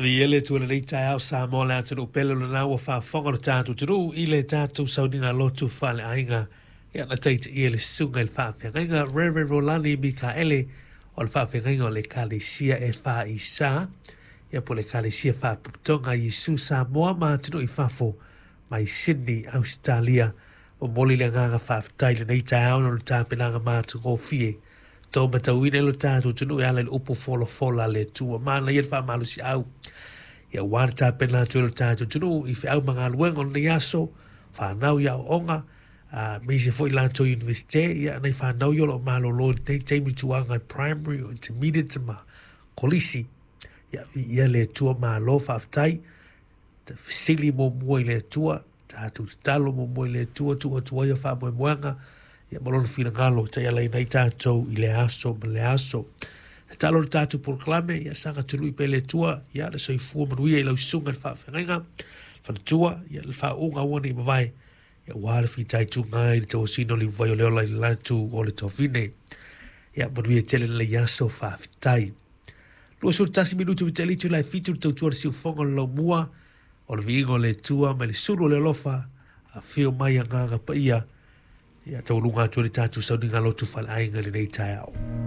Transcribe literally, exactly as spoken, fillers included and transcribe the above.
Ia le Atua i lenei taeao Samoa le atunuu pele o lena ua faafofoga lo tatou atunuu i le tatou sauniga lotu faaleaiga. Ia na taitaia le susuga i le faafeagaiga Reverend Rolani Mikaele o le faafeagaiga o le Ekalesia e F I S ia po o le Ekalesia Faapotopotoga Iesu Samoa ma atunuu i fafo mai Sydney, Ausetalia. Momoli le agaga faafetai i lenei taeao ona o le tapenaga matagofie tou matauina lo tatou atunuu e ala i le upu folafola a le Atua. Manaia le faamalosiau ia ua le tapena atu e lo tatou atunuu i feau ma galuega o lenei aso, fanau i aoaoga a aemaise foi latou Iunivesite ia nai fanau ia o lo o malolo i lenei taimi tulaga primary o intermediate ma kolisi. Ia viia le Atua, malo faafetai. Fesili muamua i le Atua, tatou tatalo muamua i le Atua, tuu atu ai faamoemoega ia ma lona finagalo taialaina ai tatou i le aso ma le aso. Tatalo le tatou polokalame ia saga tului pea le Atua ia le soifua manuia i lau susuga i le faafeagaiga faletua ia le faauuga ua nei mavae ia ua le fitaituga i le tauasina o le vai o le ola i le latu o le tofine. Ia manuia tele lenei aso, faafetai. Luasefulu tasi minutu ua tea le itula e fitu le tautua le siufofoga o le laumua o le viiga o le Atua mai le sulu o le alofa afio mai agaga paia ia taualuga atu le tatou sauniga lotu faleaiga i lenei taeao.